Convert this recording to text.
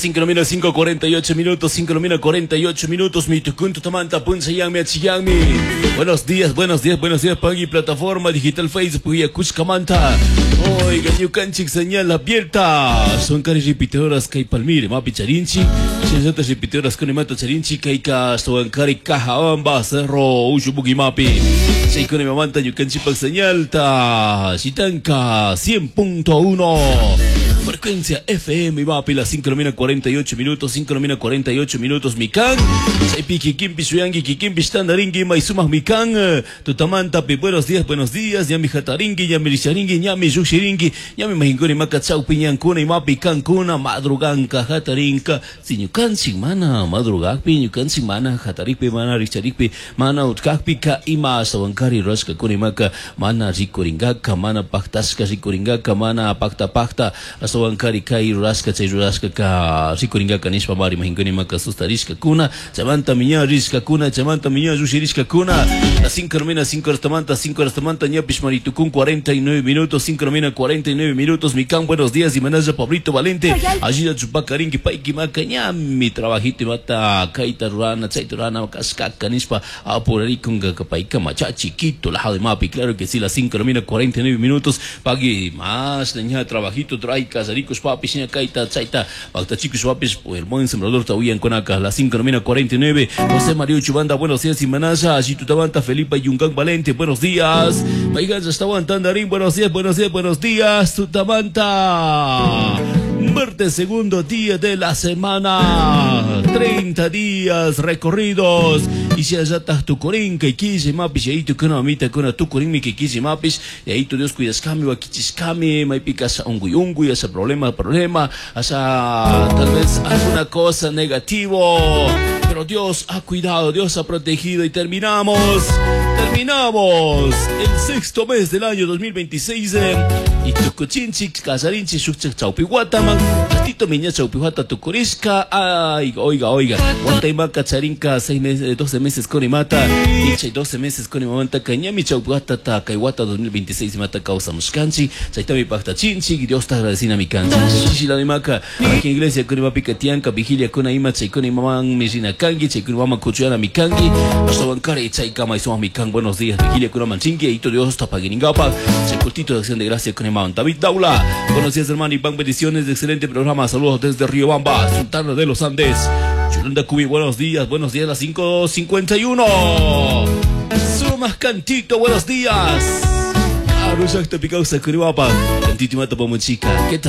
5 nomina 5:48 minutos, 5 nomina 48 minutos, mi tucunto tamanta punchayangmi achiyangmi. Buenos días, buenos días, buenos días, Pagui plataforma digital Facebook y Acushcamanta. Oiga, ñukanchik señal abierta. Son cari repetidoras kay Palmire, mapi charinchi. Shinzata repetidoras con mata charinchi kayka son cari caja cerro Ushubuki mapi. Chaykuna mamanta ñukanchikpak señal ta Shitanka 100.1. Frecuencia FM mapi las 5 de la 48 minutos, 5 de la 48 minutos mikan. Chaypi kikinpi shuyanki kikinpi tandarinki maysumaj mikan. Tutamanta pi buenos días, buenos días. Ñami hatarinki, ñami risharinki, ñami llukshirinki, ñami mahinkuni maka chawpi ñankuna imapi kankuna madruganka hatarinka. Si ñukanchik mana madrugakpi, ñukanchik mana hatarikpi, mana richarikpi, mana utkakpi ka ima ashtawankari rurashkakuna imaka mana rikuringaka, mana paktashka rikuringaka, mana pakta pakta ashtawankari kay rurashka chay rurashka ka rikuringaka nishpa mari mahinkuni maka sustarishkakuna, chaymanta ña rishkakuna, chaymanta ña llushirishkakuna. Las 5 de la 5 horas tamanta, 5 horas tamanta, ñapish maritukun 49 minutos, 5 de la 49 minutos, mikan, buenos días, y manaja Pablito Valente, allí chupacarinki paiki maka ñami trabajito y mata kaita rurana, chayta rurana, kashkaka nishpa apurarikunga paika macha chiquito, la de mapi, claro que sí, las 5 de la 49 minutos, pagui más, ña trabajito, trae casaricos papis, ña kaita, chayta, pakta chicos papis, el buen sembrador tahuyan con acá, las 5 de la 49, José Mario Chubanda, buenos días, y manaja, allí tutabanta, Felipe Yungan Valente, buenos días, Paigan estaban Tandarín, buenos días, buenos días, buenos días, Tutamanta. Martes, segundo día de la semana, 30 días recorridos. Y si allá estás tu corín, que quise mapis, y ahí tu kuna mamita, kuna tu corín, mi que quise mapis, y ahí tu Dios cuidas cami, wakichis kami, maipicas unguy unguy, ese problema, problema, esa tal vez alguna cosa negativo. Pero Dios ha cuidado, Dios ha protegido y terminamos, terminamos el sexto mes del año 2026 y tukuchinchi, kasarinchi, shukchak chawpiwataman, ratito miña chawpiwata tukurishka, ay, oiga, oiga, wataymaka charinka 6 meses, 12 meses con imata, y chay 12 meses con imamanta, cañami chawpiwata ta kaiwata 2026 mata causa mushkanchi, chaytami pakta chinchi, Dios te agradecina mi canchi, chichi la imaka, aquí en iglesia con imapika tianka, vigilia con ima, chay con imaman mirina kangi, chay con imama kuchuyana mi kangi, ashtawankari chay kama isuma mi kan, buenos días, vigilia con manchingi, y Dios tapagiringapa, chay cultito de acción de gracia con imam David Daula, buenos días hermano y pan bendiciones, excelente programa, saludos desde Riobamba, Sultana de los Andes, Yolanda Cubi, buenos días, las 5:51, Sumas Cantito, buenos días, Arusha Picausa Curihuapa, Cantito y Mata Chica, ¿qué tal?